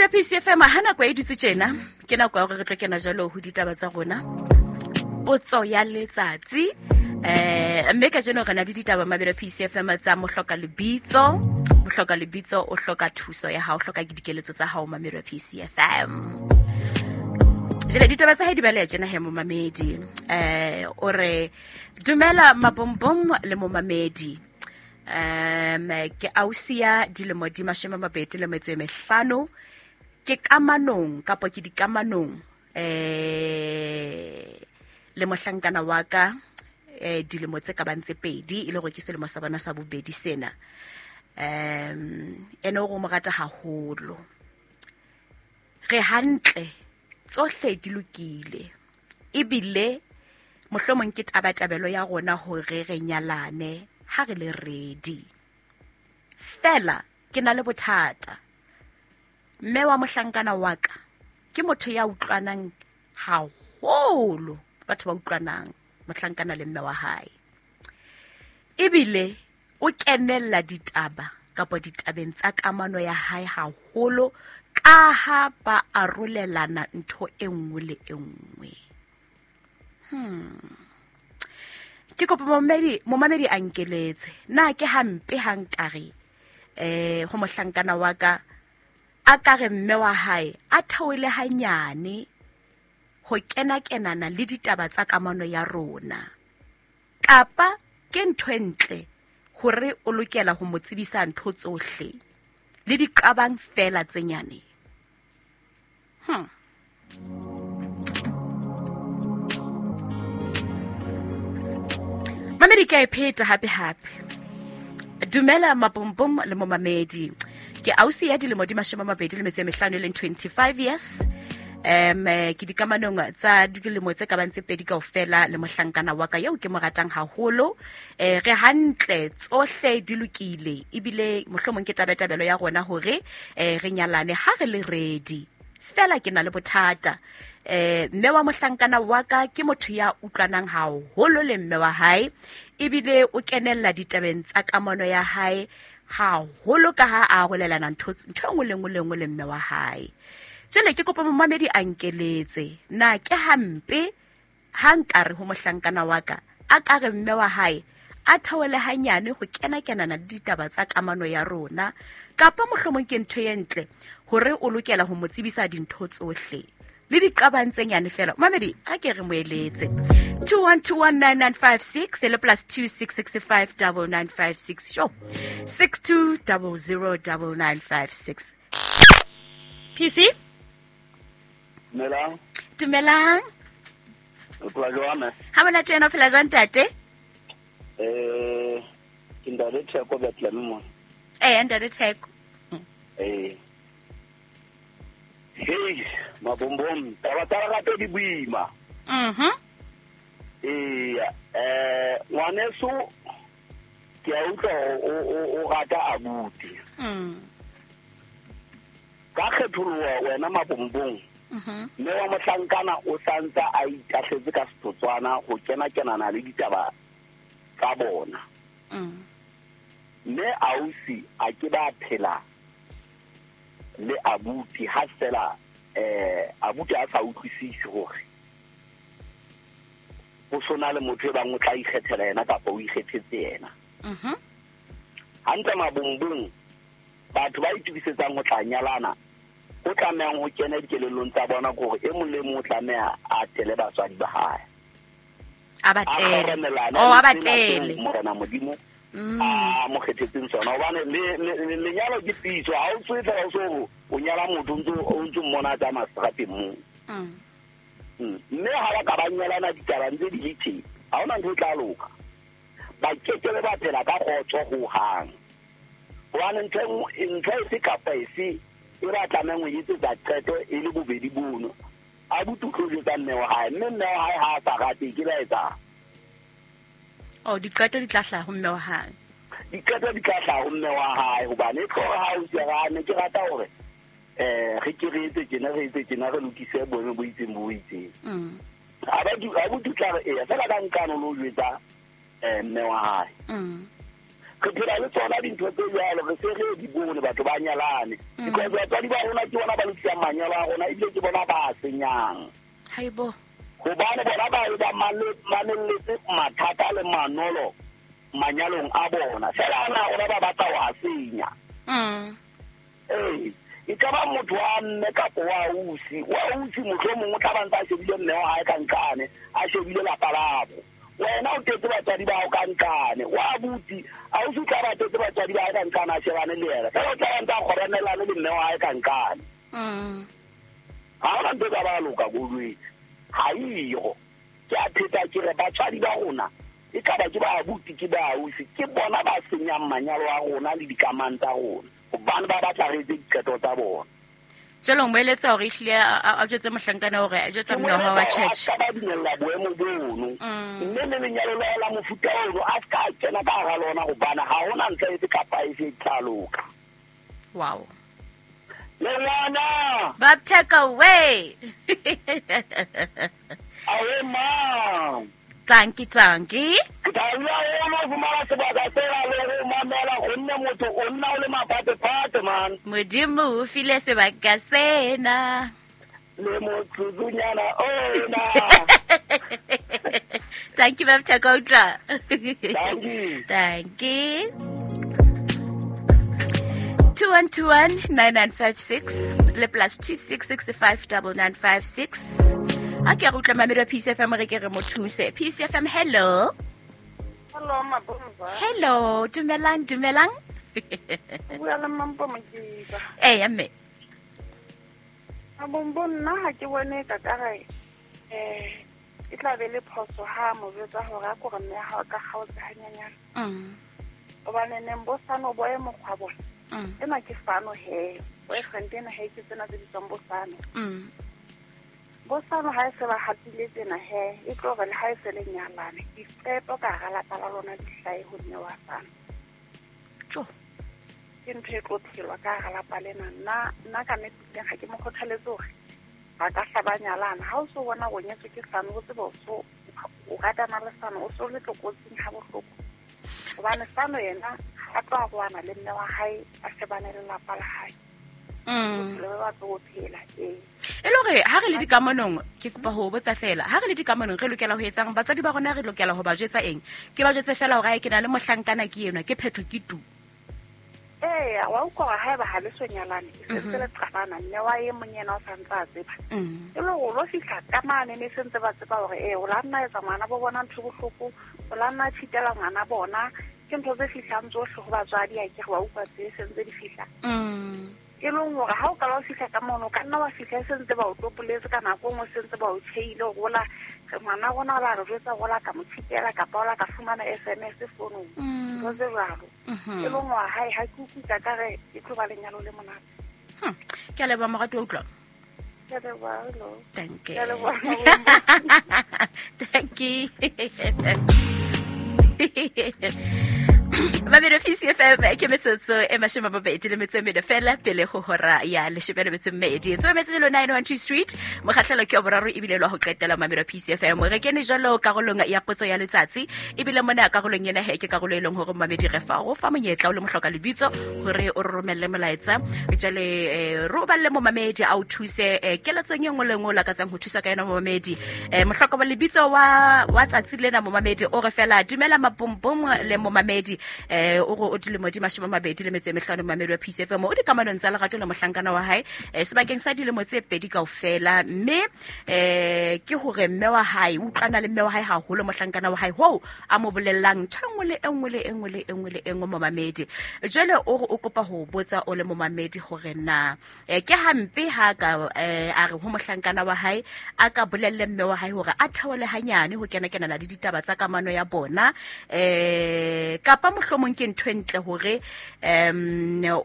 Mamelo PCFM ha nako e dutse tjena ke nako ya hore re tlo kena jalo ho ditaba tsa rona potso ya letsatsi mme ka jeno re na le ditaba Mamelo PCFM tsa mohloka lebitso. Mohloka lebitso o hloka thuso ya hao, o hloka dikeletso tsa hao Mamelo PCFM. Jale ditaba tsa hae di baleha tjena he momamedi. O re dumela mabombom le momamedi. Ke ausi ya dilemo di 25 ke kamanong kapa ke dikamanong le mohlankana wa ka dilemo tse ka bang tse 2 e le hore ke selemo sa bona sa bobedi sena. Ene o mo rata haholo. Re hantle tsohle di lokile ebile mohlomong ke tabatabelo ya rona hore re nyalane ha re le ready. Fela ke na le bothata. Mme wa mohlankana wa ka ke motho ya utlwanang haholo, batho ba utlwanang mohlankana le mme wa hae. Ebile o kenella ditaba kapa ditabeng tsa kamano ya hae haholo ka ha ba arolelana ntho e nngwe le e nngwe. Ke kopa momamedi a nkeletse. Na ke hampe ha nkare ho mohlankana wa ka a ka re mme wa hae a theole hanyane ho kena-kenana le ditaba tsa kamano ya rona, kapa ke ntho e ntle hore o lokela ho mo tsebisa ntho tsohle le diqabang fela tse nyane. Mamedi ke a e pheta hape hape. Dumela mapompom le momamedi. Ke ausi ya dilemo di 25 e leng 25 years. Ke dikamanong tsa dilemo tse ka bang tse 2 kaofela le mohlankana wa ka eo ke mo ratang haholo. Re hantle tsohle di lokile ebile mohlomong ke tabatabelo ya rona hore re nyalane ha re le ready. Fela ke na le bothata. Mme wa mohlankana wa ka ke motho ya utlwanang haholo le mme wa hae ebile o kenella ditabeng tsa kamano ya hae haholo ka ha a arolelana ntho e nngwe le nngwe le nngwe le mme wa hae. Jwale ke kopa momamedi a nkeletse. Na ke hampe ha nkare ho mohlankana wa ka a ka re mme wa hae a theole hanyane ho kena-kenana le ditaba tsa kamano ya rona, kapa mohlomong ke ntho e ntle hore o lokela ho mo tsebisa dintho tsohle le diqabang tse nyane fela. Mamedi a ke re mo eletse. 21219956 le plus 26659956 sho 62009956. PC Dumelang. Dumelang. O phela jwang mme? Ha monate wena o phela jwang ntate? Ke ntate Theko Bethlehem mo. Ntate Theko. Hey, mabombom, taba tsa lerato di boima. Ngwaneso ke a utlwa o rata abuti. Ka kgetholoha wena mabombong. Mme wa mohlankana o santsa a itahletse ka setotswana ho kena-kenana le ditaba tsa bona. Mme ausi a ke ba phela le abuti ha fela abuti a sa utlwisise hore ho sona le motho e bang o tla ikgethela yena kapa o ikgethetse yena. Hantle mabombong batho ba itukisetsang ho tla nyalana o tlamehang ho kena dikelellong tsa bona hore e mong le mong o tlameha a tele batswadi ba hae. A ba tele. Oh, a ba tele. Morena Modimo a mo kgethetseng sona hobane lenyalo ke pitso. Ha o tswe fela o so o nyala motho o ntso mmona tsa maserateng moo. Mme ha ba ka ba nyalana ditaba ntse di le teng, ha hona ntho e tla loka. Ba kekebe ba phela ka kgotso hohang. Hobane ntho efe kapa efe e ba tlamehang ho etsetsa qeto e le bobedi bono. Abuti o tlo jwetsa mme wa hae, mme mme wa hae ha a sa rate ke la etsang. Oh, diqeto di tla hlaha ho mme wa hae. Diqeto di tla hlaha ho mme wa hae hobane e tlo re ha o se rane ke rata hore re ke re etse tjena re etse tjena re lokise boemo bo itseng bo itseng. Abuti o tla re eya fela ka nkano lo jwetsa mme wa hae. Re phela le tsona dintho tse jwalo, re se re di bone batho ba nyalane. Because batswadi ba rona ke bona ba lokisang manyalo a rona, ebile ke bona ba senyang. Haibo. Hobane bona ba e ba mamelletse mathata le manolo manyalong a bona. Fela ana rona ba batla ho a senya. Ee, e ka ba motho wa mme kapa wa ausi. Wa ausi mohlomong o tla ba ntse a shebile mme wa hae ka nqane, a shebile lapa labo. Wena o tetse batswadi ba hao ka nqane. Wa abuti, ausi o tla ba tetse batswadi ba hae ka nqane, a shebane le yena. Fela o tla ba ntse a kgoramelane le mme wa hae ka nqane. Ha hona ntho e ka ba loka ko jwetse. Ha eyo. Ke a pheta ke re batswadi ba rona e ka ba ke ba abuti ke ba ausi, ke bona ba senyang manyalo a rona le dikamano tsa rona. Hobane ba batla re etse diqeto tsa bona. Jwale o mo eletsa hore ehlile a jwetse mohlankana hore a jwetsa mme wa hae wa church. A ka ba dumella boemo bono. Mme le lenyalo la la mofuta ono a ska kena ka hara lona hobane ha hona ntho efe kapa efe e tla loka. Wow. Le ngwana. Bapteka away. Awe ma. Tanki tanki. Ke thabile haholo ho fumana sebaka sena le ho mamela gonne motho o nna o le maphatephathe man. Modimo o file sebaka sena. Le motsotsunyana ona. Thank you, Bapteka utlwa. Thank you. Thank you. 2121-9956 le plus 26659956. A ke re utlwa mamedi wa PCFM re ke re mo thuse. PCFM, hello. Hello, Mabomba. Hello, dumelang, dumelang. Bua le Mampo Mokiba. Eya mme. Mabombo, nna ha ke bone ka kare e tla be le phoso ha mo jwetsa hore a kore mme ha ka kgaotse hanyenyane. Hobane neng bo sano bo e mokgwa bona. Ena ke fano he. Boyfriend ena he ke tsena tse bitswang bo sano. Bo sano ha e se ba hatile tsena he, e tlo re le ha e se le nyalane. Diqeto ka hara lapa la lona di hlahe ho mme wa sano. Tjo. Ke ntho e tlo phelwa ka hara lapa lena. Nna ka nnete teng ha ke mo kgothaletse hore ba ka hla ba nyalana. Ha o so bona o nyetswe ke sano, o tsebe o so o ratana le sano, o so le tlokotsing ha bohloko. Hobane sano yena a tlo arohana le mme wa hae, a shebane le lapa la hae. Bophelo ba batlo ho phela, ee. E le hore ha re le dikamanong, ke kopa ho botsa fela, ha re le dikamanong re lokela ho etsang? Batswadi ba rona re lokela ho ba jwetsa eng? Ke ba jwetse fela hore ke na le mohlankana ke enwa, ke phetho ke tu. Eya, wa utlwa hore haeba ha le so nyalane, e sentse le qabana, mme wa e mong yena o sa ntse a tseba. E le hore o lo fihla ka mane ne sentse ba tseba hore o la nna etsa ngwana bo bona ntho bohloko, o la nna tshitela ngwana bona, ke ntho tse fihlang tsohle ho batswadi, ha ke re wa utlwa tse sentse di fihla. E leng hore ha o ka ba o fihla ka mono, ka nna wa fihla e sentse ba o topoletse ka nako e nngwe, sentse ba o tjheile hore ola ngwana rona ba re jwetsa hore ola ka mo tshitela kapa ola ka fumana SMS founung. Ntho tse jwalo. E leng hore hae ha ke utlwe ka re e tlo ba lenyalo le monate. Ke a leboha morati wa utlwa. Ke a leboha, hello. Thank you. Ke a leboha. Thank you. Mamedi wa PCFM ke metsotso e 22 le fela pele ho hora ya 12. Tse metse jalo 912 Street, mokgahlelo ke wa boraro ebile lwa ho qetela mamedi wa PCFM. Re kene jalo karolong ya potso ya letsatsi, ebile mona karolong ena he ke karolo e leng hore mamedi re fa go fa monyetla o le mohloka lebitso hore o re romelle molaetsa. Jwale re o balle momamedi a o thuse keletsong e nngwe le nngwe o lakatsang ho thusa ka yona momamedi. Mohloka wa lebitso wa tsatsi lena momamedi o re fela dumela mapompong le momamedi. O re o dilemo di 25 momamedi wa PCFM o dikamanong tsa lerato le mohlankana wa hae sebakeng sa dilemo tse pedi kaofela, mme ke hore mme wa hae o utlwana le mme wa hae haholo mohlankana wa hae hoo a mo bolellang ntho e nngwe le e nngwe le e nngwe le e nngwe le e nngwe momamedi. Jwale o re o kopa ho botsa o le momamedi hore na ke hampe ha ka a re ho mohlankana wa hae a ka bolelle mme wa hae hore a theole hanyane ho kena kenana le ditaba tsa kamano ya bona, kapa mohlomong ke ntho e ntle hore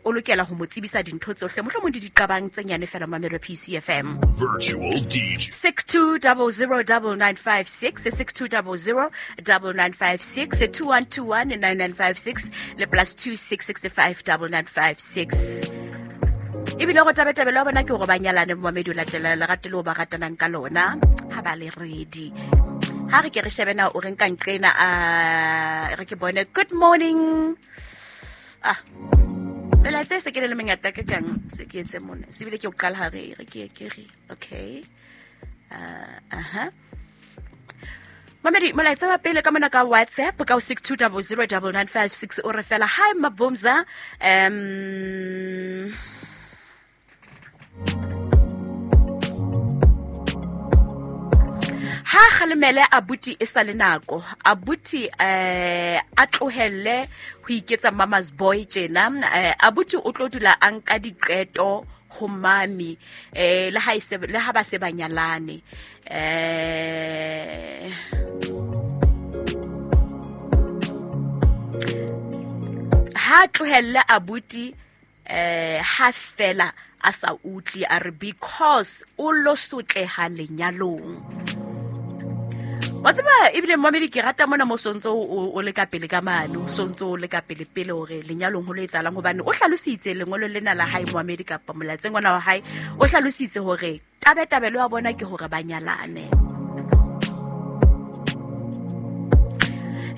o lokela ho mo tsebisa dintho tsohle, mohlomong di diqabang tse nyane fela mamedi wa PCFM. Virtual DJ 62009956, 62009956, 21219956 le plus 26659956. Ebile go tabetabelo ya bona ke gore ba nyalane momamedi o latela lerato leo ba ratanang ka lona ha ba le ready. Ha re ke re shebe na o reng ka nqena, a re ke bone. Good morning. Ah, melaetsa e se ke le mengata ke kang se ke etse mona, se bile ke o qala ha re re ke ke re okay. Aha, mamedi, molaetsa wa pele ka mona ka WhatsApp ka o 62009956 o re fela: "Hi Mabumza, ha kgalemele abuti e sa le nako. Abuti a tlohelle ho iketsa mama's boy tjena. Abuti o tlo dula a nka diqeto ho mami le ha ise le ha ba se ba nyalane. Ha tlohelle abuti ha fela a sa utlwi, a re because o lo sotleha lenyalong." Wa tseba, ebile momedi, ke rata mona mo sontso o le ka pele ka mane, o sontso o le ka pele pele hore lenyalong ho lo etsahalang, hobane o hlalositse lengolo lena la hae, moamedi, kapa molaetseng ona wa hae, o hlalositse hore tabetabelo ya bona ke hore ba nyalane.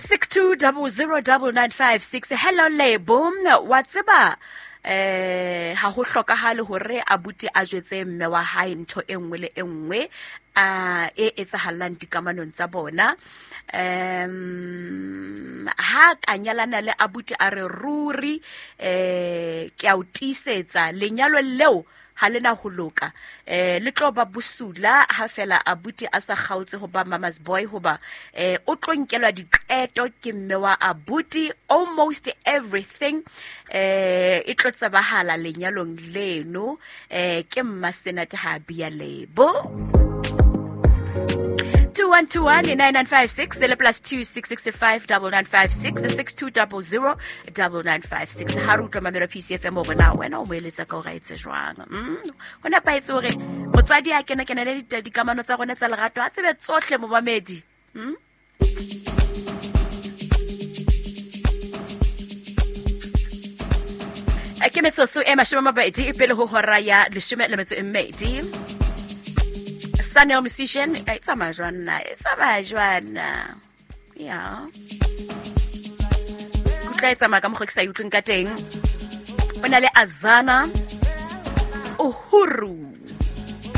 62009956. "Hello Lebo, wa tseba ha ho hlokahale hore abuti a jwetse mme wa hae ntho e nngwe le e nngwe a e etsahalang dikamanong tsa bona. Ha ka nyalana le abuti, a re ruri ke a o tiisetsa, lenyalo leo ha lena ho loka, le tlo ba bosula ha fela abuti a sa kgaotse ho ba mama's boy, hoba o tlo nkelwa diqeto ke mme wa abuti. Almost everything e tlo tsebahala lenyalong leno. Ke mma Senate ha bia Lebo." 21219956 le +2665 9956 6200 9956. Ha re utlwa mamelo PCFM hore na wena o mo eletsa ka hore a etse jwang. Ho nepahetse hore motswadi a kena kenele dikamano tsa rona tsa lerato, a tsebe tsohle, momamedi? Ke metsotso e 20 e pele ho hora ya 12. Sanel Musician e tsamaya jwang na? E tsamaya jwang na? Ya kutla e tsamaya ka mokgwa ke sa e utlweng ka teng. O na le Azana Uhuru.